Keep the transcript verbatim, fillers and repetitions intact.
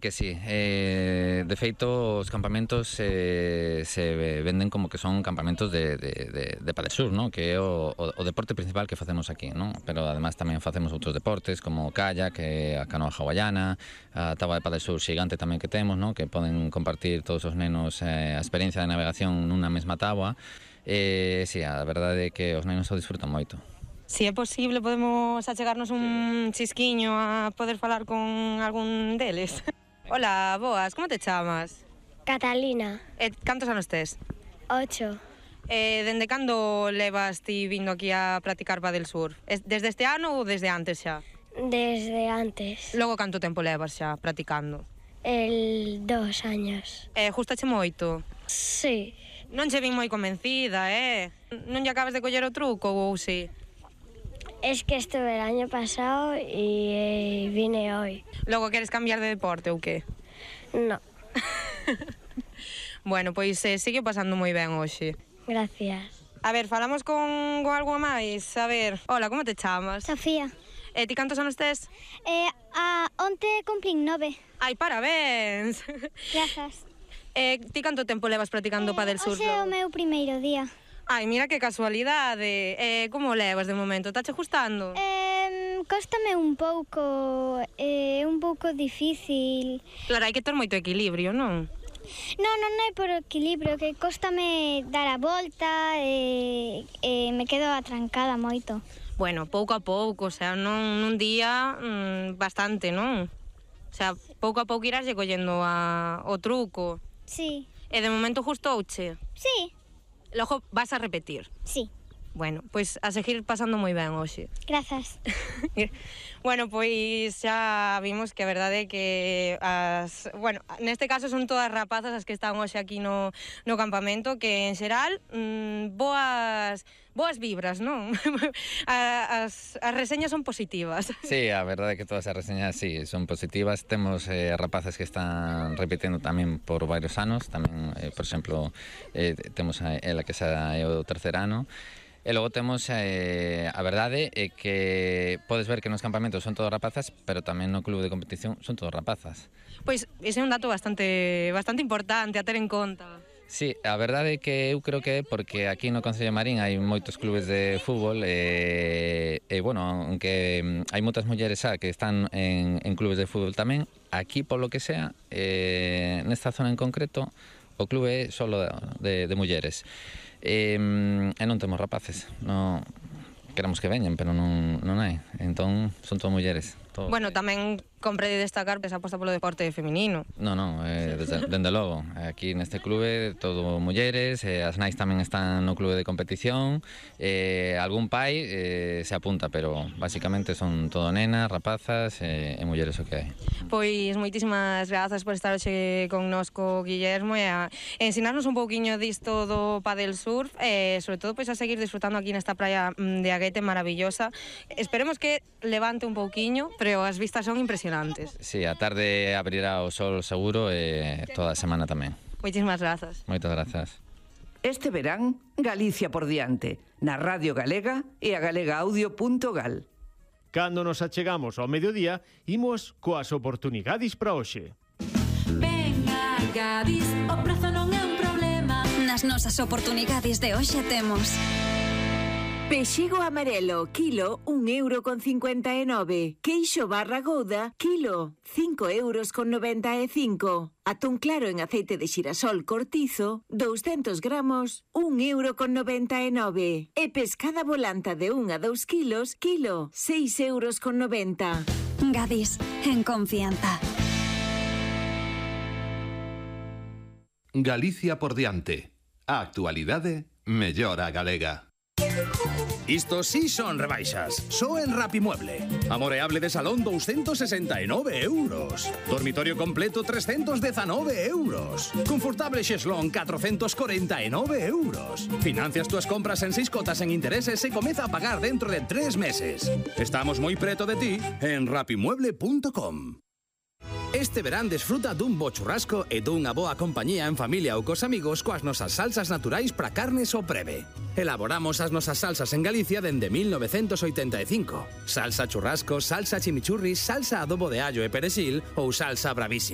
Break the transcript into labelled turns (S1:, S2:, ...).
S1: Que sí, eh, de feito os campamentos eh, se venden como que son campamentos de, de, de, de Padelsur, ¿no? Que é o, o, o deporte principal que facemos aquí, ¿no? Pero además tamén facemos outros deportes como kayak, a canoa hawaiana, a táboa de Padelsur xigante tamén que temos, ¿no? Que poden compartir todos os nenos eh, a experiencia de navegación nunha mesma táboa. Eh, sí, a verdade é que os nenos o disfrutan moito.
S2: Si é posible, podemos achegarnos un chisquiño a poder falar con algún deles. Hola, boas, como te chamas?
S3: Catalina.
S2: E cantos anos tes?
S3: Ocho.
S2: Eh, dende cando levas ti vindo aquí a practicar Padelsur? Desde este ano ou desde antes xa?
S3: Desde antes.
S2: Logo canto tempo levas xa practicando?
S3: El dos años.
S2: Eh, gustache moito?
S3: Sí.
S2: Non che vin moi convencida, eh? Non lle acabas de coller o truco ou si?
S3: Es que estuve el año pasado y eh, vine hoy.
S2: Logo queres cambiar de deporte ou que?
S3: No.
S2: Bueno, pois eh, sigue pasando moi ben hoxe.
S3: Gracias.
S2: A ver, falamos con, con algo máis. A ver, hola, como te chamas?
S4: Sofía.
S2: E ti cantos anos tes?
S4: Eh, a onte cumplín nove.
S2: Ai, parabéns.
S4: Grazas.
S2: Eh, ti canto tempo levas practicando
S4: eh,
S2: Padelsur?
S4: Hoxe é o meu primeiro día.
S2: Ai, mira que casualidade. Eh, como levas de momento? Tache gustando?
S4: Eh, cóstame un pouco, é eh, un pouco difícil.
S2: Claro, hai que ter moito equilibrio, non?
S4: Non, non é por equilibrio, que cóstame dar a volta e, e me quedo atrancada moito.
S2: Bueno, pouco a pouco, o sea, non nun día mmm, bastante, non? O sea, pouco a pouco irás lle collendo a, o truco.
S4: Sí.
S2: E de momento gustouche?
S4: Sí.
S2: Logo vas a repetir?
S4: Sí.
S2: Bueno, pois a seguir pasando moi ben hoxe.
S4: Grazas.
S2: Bueno, pois xa vimos que a verdade é que as, bueno, neste caso son todas rapazas as que están hoxe aquí no, no campamento, que en xeral mmm, boas boas vibras, non? as, as reseñas son positivas.
S1: Sí, a verdade é que todas as reseñas sí, son positivas. Temos eh, rapaces que están repetindo tamén por varios anos, tamén, eh, por exemplo, eh, temos a ela que xa é o terceiro ano. E logo temos, eh, a verdade é que podes ver que nos campamentos son todos rapazas, pero tamén no clube de competición son todos rapazas.
S2: Pois ese é un dato bastante bastante importante a ter en conta.
S1: Sí, a verdade é que eu creo que é porque aquí no Concello de Marín hai moitos clubes de fútbol e, e bueno, aunque hai moitas mulleres xa que están en, en clubes de fútbol tamén, aquí polo que sea, eh, nesta zona en concreto, o clube é solo de, de, de mulleres. E, e non temos rapaces, non queremos que veñen, pero non, non hai, entón son todas mulleres. Todo.
S2: Bueno, tamén compre destacar que se aposta polo deporte feminino.
S1: Non, non, eh, desde, dende logo, aquí neste clube todo mulleres, eh, as nais tamén están no clube de competición, eh, algún pai eh, se apunta, pero basicamente son todo nenas, rapazas eh, e mulleres o que hai.
S2: Pois moitísimas grazas por estar hoxe connosco, Guillermo, e a ensinarnos un pouquiño disto do Padelsurf, e sobre todo pois a seguir disfrutando aquí nesta praia de Aguete maravillosa. Esperemos que levante un pouquiño, pero as vistas son impresionantes.
S1: Sí, a tarde abrirá o sol seguro e toda a semana tamén.
S2: Moitísimas grazas.
S1: Moitas grazas.
S5: Este verán, Galicia por diante, na Radio Galega e a galega audio punto gal.
S6: Cando nos achegamos ao mediodía, imos coas oportunidades para hoxe.
S7: Venga, Gadis, o prezo non é un problema. Nas nosas oportunidades de hoxe temos
S8: Pexigo amarelo, kilo, un euro con cincuenta e nove. Queixo barra gouda, kilo, cinco euros con noventa e cinco. Atún claro en aceite de xirasol cortizo, douscentos gramos, un euro con noventa e nove. E pescada volanta de un a dous kilos, kilo, seis euros con noventa.
S7: Gadis, en confianza.
S9: Galicia por diante. A actualidade mellora a galega.
S10: Isto sí son rebaixas. Só en Rapimueble. Amoreable de salón doscientos sesenta e nove euros. Dormitorio completo trescientos diecinueve euros. Confortable xeslón catrocentos corenta e nove euros. Financias túas compras en seis cotas en intereses e comeza a pagar dentro de tres meses. Estamos moi preto de ti en rapimueble punto com. Este verán desfruta dun bo churrasco e dunha boa compañía en familia ou cos amigos coas nosas salsas naturais para carnes o preve. Elaboramos as nosas salsas en Galicia dende mil novecentos oitenta e cinco. Salsa churrasco, salsa chimichurri, salsa adobo de allo e perexil ou salsa bravísima.